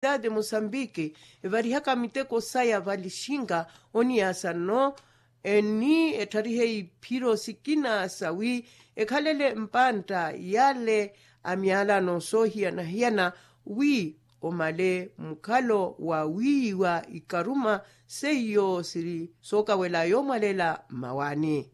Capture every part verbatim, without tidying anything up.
eletricidade mosambiki evarihaka miteko saya valixinga oniyaasa nno eni ettharihe iphiro sikina sawi ekhalele mpantta yale a myalano soohiyana-hiyana wi omale mukhalo wa wiiyiwa ikaruma seiyo siri sookawela yoomwalela mmawaani.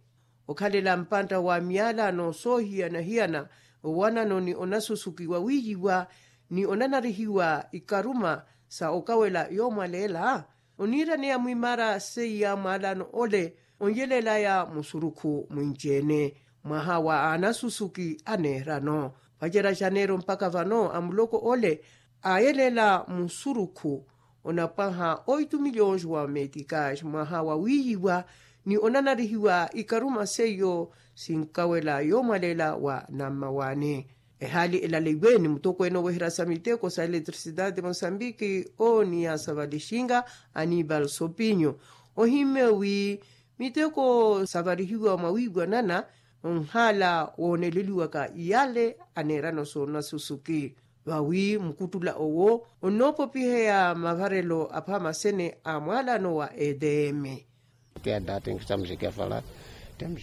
Okhalela mpantta wa myalano soohiyana-hiyana owanano ni onasusukiwa wiiyiwa ni onanarihiwa ikaruma sa okawela yoomwalela oniiraneya mwimaara seiya mwalano ole onyelelaya musurukhu mwinci-ene mwaha wa anasusuki aneerano. Vacerya janeiro mpakha vano a muloko ole aayelela musurukhu onapwaha oitu miliyons wa metikasi mwaha wa wiiyiwa ni onanarihiwa ikaruma seiyo sinkawela yoomwalela wa nammawaani. Ehaali elalaiwe ni mutokweene oweherya sa miteko sa eletricidade mosambiki oniya sa valixinga anibal sopinyo ohimmye wi miteko savarihiwa mwawiiwanana onhaala wooneleliwaka yale aneerano soonasusuki vawi mukuttula owo onnoopopiheya mavarelo aphamasene a mwalano wa edm.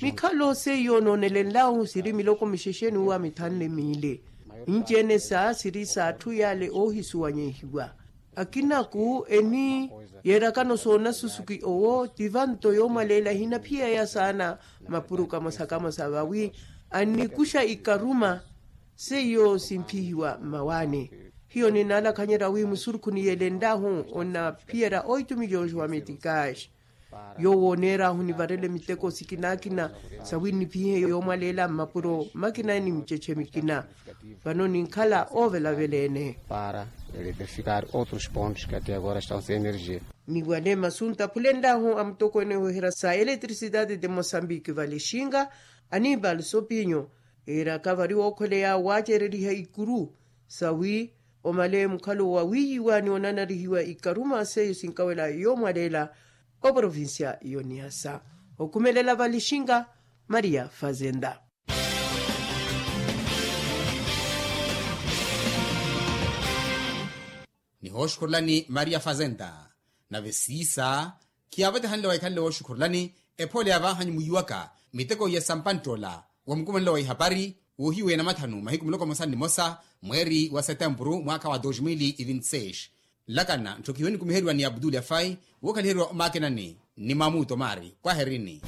Mikhallo seiyo noonelenlahu siri miloko mixexeni wa mithanle miili. Inci-ene sa siri s'atthu yale oohisuwanyehiwa akinaku eni yeerakano soonasusuki owo ti vanto yoomwaleela ehinaphiyeya saana mapuro kamosa-kamosa vawi annikuxa ikaruma seiyo simphihiwa mmawaani. Hiyo ninaalakhanyerya wi musurukhu niyelenlahu onaphiyerya oitu miliyons wa metikasi yoowo oneer'ahu nivarele miteko sikina-kina sawi nnipihihe yoomwaleela mmapuro makina ni miceche mikina. Vano ninkhala oovelavela-ene para eletrificar outros pontos que até agora estão sem energia. Ni wale masu ntaphulenlahu a mutokweene weherya sa eletricidade de mosambiki valixinga anibal sopinyo eeraka vari wookhweleya waacereriha ikuru sawi omale mukhalo wa wiiyiwa ni onanarihiwa ikaruma seiyo sinkawela yoomwaleela oprovincia y'oniasa. Okhumelela valixinga maria fazenda. Nihooxukhurelani maria fazenda nave siisa khiyaavetehanle wa ikhanle wooxukhurelani ephoole ya vaahanyu mwiiwaka miteko iya sampantt'ola wa mukumanelo wa ihapari woohiweya namathanu mahiku muloko mosa ni mosa mweeri wa setempuru mwaakha wa dos mil e vinti seis. Nlakana ntthokihiwe nikumiheriwa ni abdul afai wookhaliheriwa omakinani ni mamuto maari kwaherini.